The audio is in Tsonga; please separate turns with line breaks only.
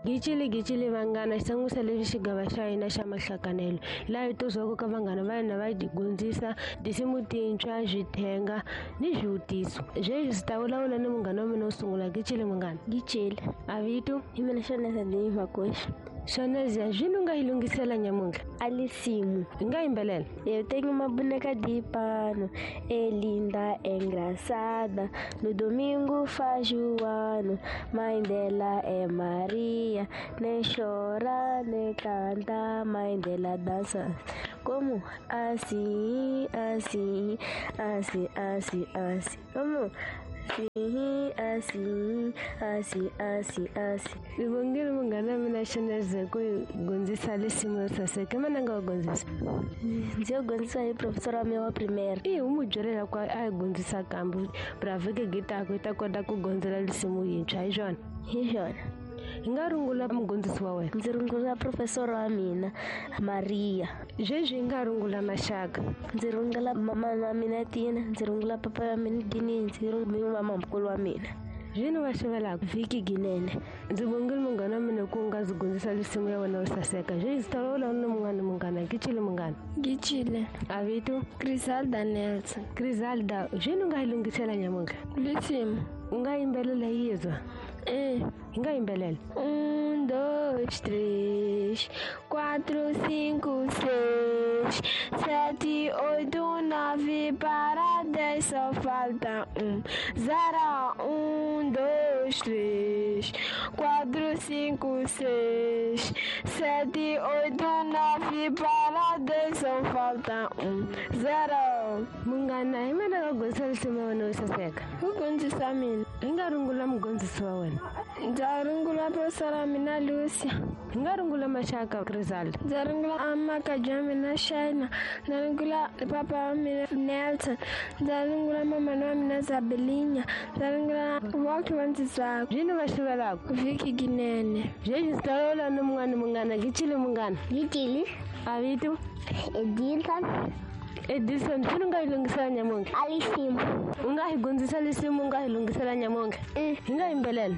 Gicile gicile vanghana xi tsangwisa leswi xigava xa hina xa mahlakanelo laha hi tozwaka ka vanghana va hina va gondzisa tinsimu tintshwa swithenga ni swivutiso sweswi swi ta vulavula ni munghana wa mina wo sungula gicile munghana
Gicile
a vito
hi mina Shoneza Dini Makoshi
Shoneza zwini u nga yi lunghisela nyamuntlha
Alisimu
hi nga yimbelela.
Eu tenho uma boneca de pano, é linda, é engraçada. No domingo faz o ano, mãe dela é Maria. Nem chora, nem canta, mãe dela dança. Como? Assim, assim, assim, assim, assim. Como? Assim, assim, assim, assim, assim.
Ni vongile munghana wa mina Shoneza ku hi gondzisa risimu ro saseka i mani a nga wu gondzisa
Ndzi yo gondzisa hi professor wa mina wa primaire.
I u n'wi byele leswaku a hi gondzisa kambe bravike gitako yi ta kota ku gondzela risimu yintshwa hi swona
Hi swona.
Hi nga rungula mugondzisi wa wena.
Ndzi rungula professor wa mina Maria.
Sweswi hi nga rungula maxaka.
Ndzi rungula mama wa mina Tina, ndzi rungula papa wa mina Dini, ndzi rungula mamamukulu wa mina.
Zwini va xivelaka
Vhiki Ginene.
Ndzi vongile munghana wa mina ku nga ndzi gondzisa risimu ya wena yo saseka. Sweswi ndzi ta vulavula ni munghana munghana Gicile munghana.
Gicile.
A vito?
Griselda Nelson.
Griselda, zwini u nga yi lunghisela nyamuntlha?
Risimu.
U nga yimbelela yizwa?
E.
Hi nga yimbelela.
1, 2, 3, 4, 5, 6, 7, 8, 9, para 10 só falta 1. 0, 1, 2, 3, 4, 5, 6, 7, 8, 9, para 10 só falta 1. 0.
Munghana hi mina nga gondzisa risimu ya wena yo saseka.
Ku gondzisa mina.
Hi nga rungula mugondzisi wa wena.
Ndza rungula professor wa mina Lucia.
Hi nga rungula maxaka Griselda.
Ndza rungula amakaji wa mina Shaina. Ndza rungula papa wa mina Nelson. Ndza rungula mamana wa mina Zabelinya. Ndza rungula vonke va ndzi twaka.
Zwini va xivelaka?
Vhiki Ginene.
Sweswi ndzi ta vulavula ni mun'wana munghana Gicile munghana.
Gicile.
A vito?
Edilson.
Edison, swini u nga yi lunghisela nyamuntlha?
Alisimu.
U nga hi gondzisa risimu u nga hi lunghisela nyamuntlha? Hi nga yimbelela.